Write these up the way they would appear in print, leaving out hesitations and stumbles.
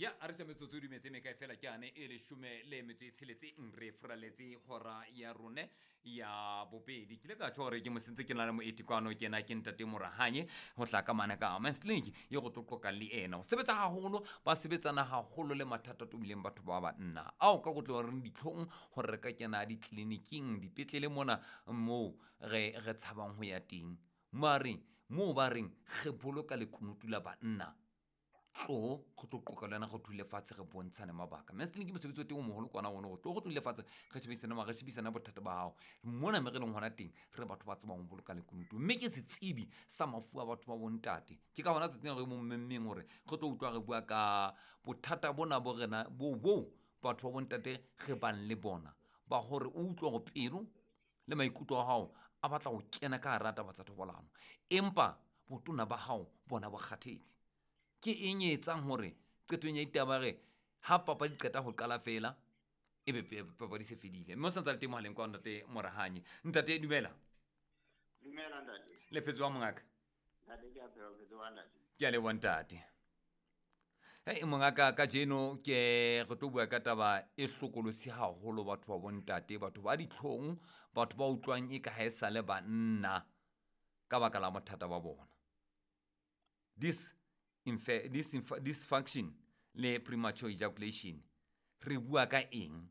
Ya a re se metsotso e dumetse mekae fela ke ane e leshome le metso e tsheletseng re furaletse hora ya rone ya bobedi. Ke ile ka tjho hore ke mosentse ke na le moeti kwano, ke ena ke ntate Morahanye ho tla ka mane ka Men's Clinic ye go tlo qoqa le ena. Ho sebetsa haholo, ba sebetsana haholo le mathata a tobileng batho ba banna ao ka kotlo re ditlhong hore re ka kena ditleliniking, dipetlele mona moo re re tshabang ho ya teng. Mare moo ba reng re boloka lekunutu la banna, tlo go tlo qoqa le wena, go dule fatshe re bontshane mabaka. Men's Clinic mosebetsi o teng o moholo kwana ono, go tlo go dule fatshe re shebisane re shebisane bothata ba hao mona me re leng hona teng, re batho ba tsebang ho boloka lekunutu, mme ke setsebi sa mafu a batho ba bontate. Ke ka hona tsatsing re mo mmemmeng hore re tlo utlwa re bua ka bothata bona bo rena bo bo batho ba bontate re bang le bona, ba hore o utlwa hore pelo le maikutlo a hao a batla ho kena ka hara taba tsa thobalano, empa botona ba hao bona bo kgathetse. Ke eng e etsang hore qetong ya ditaba re ha papadi qeta ho qala fela ebe papadi se fedile? Mme o santsa le teng mohaleng kwa ntate Morahanye. Ntate dumela. Dumela ntate. Le phetse wa mongaka? Ntate ke a phela, phetse wa ntate. Ke a leboha ntate. Hei mongaka, kajeno ke re tlo bua ka taba e hlokolosi haholo batho ba bontate, batho ba ditlhong, batho ba utlwang e ka ha e sale banna ka baka la bothata ba bona. This dysfunction le premature ejaculation, re bua ka eng?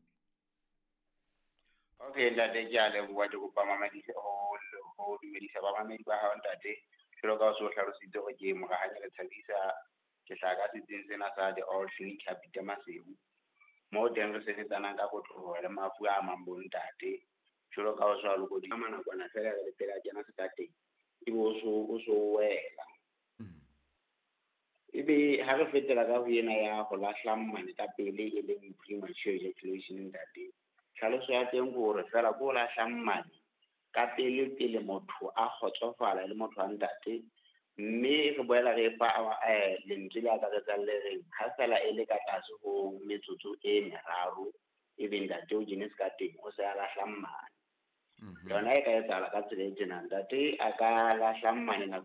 Okay ntate, ke a leboha. Ke kopa mamedise ho dumedisa bamamedi ba hao ntate. Jwalo ka o so hlalositse hore ke Morahanye le Thabisa, ke hlaha ka setsing sena sa The All Clinic ya Peter Maseru. Moo teng re sebetsanang ka kotloloho le mafu a amang bontate. Jwalo ka o so lokodisa nakwana fela re le pele a kena sekateng, ebe o so wela. Ebe ha re fetela ka ho ena ya ho lahla mmane ka pele e leng premature ejaculation ntate. Tlhaloso ya teng ke hore fela ke ho lahla mmane ka pele pele motho a kgotsofala le motho wa ntate, mme re boela re fa lentswe le akaretsang le reng ha fela e le ka tlase ho metsotso e meraro ebe ntate o kene se ka teng, o se a lahla mmane. Yona e ka etsahala ka tsela e tjena, ntate a ka lahla mmane nako